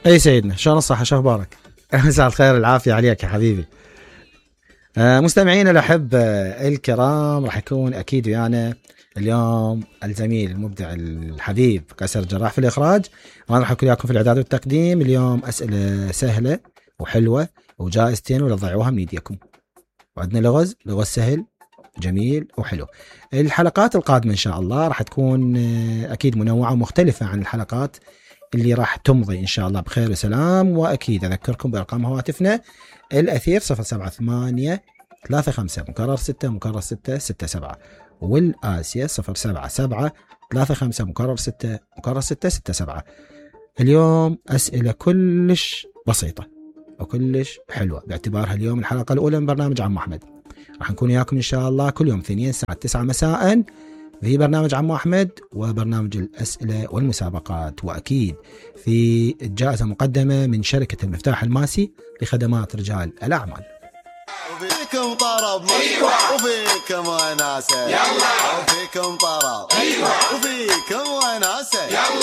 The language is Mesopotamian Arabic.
اي سيدنا، شلون الصحة، شو اخبارك؟ مساء الخير العافية عليك يا حبيبي. مستمعينا الأحب الكرام، راح يكون أكيد ويانا اليوم الزميل المبدع الحبيب قيصر جراح في الإخراج، وأنا راح أكون وياكم في الإعداد والتقديم. اليوم أسئلة سهلة وحلوة وجائزتين ولا تضيعوها من ايديكم، وعندنا لغز سهل جميل وحلو. الحلقات القادمة إن شاء الله راح تكون أكيد منوعة ومختلفة عن الحلقات اللي راح تمضي إن شاء الله بخير وسلام. وأكيد أذكركم بأرقام هواتفنا: الأثير 078 35 مكرر 6 مكرر 6 67، والآسيا 077 35 مكرر 6 مكرر 6 67. اليوم أسئلة كلش بسيطة وكلش حلوة، باعتبارها اليوم الحلقة الأولى من برنامج عمو أحمد. راح نكون وياكم إن شاء الله كل يوم اثنين الساعة 9 مساء في برنامج عمو أحمد وبرنامج الأسئلة والمسابقات، وأكيد في الجائزة مقدمة من شركة المفتاح الماسي لخدمات رجال الأعمال. وفيكم طرب أيوة، وفيكم وناسة يلا، وفيكم طرب أيوة، وفيكم وناسة يلا.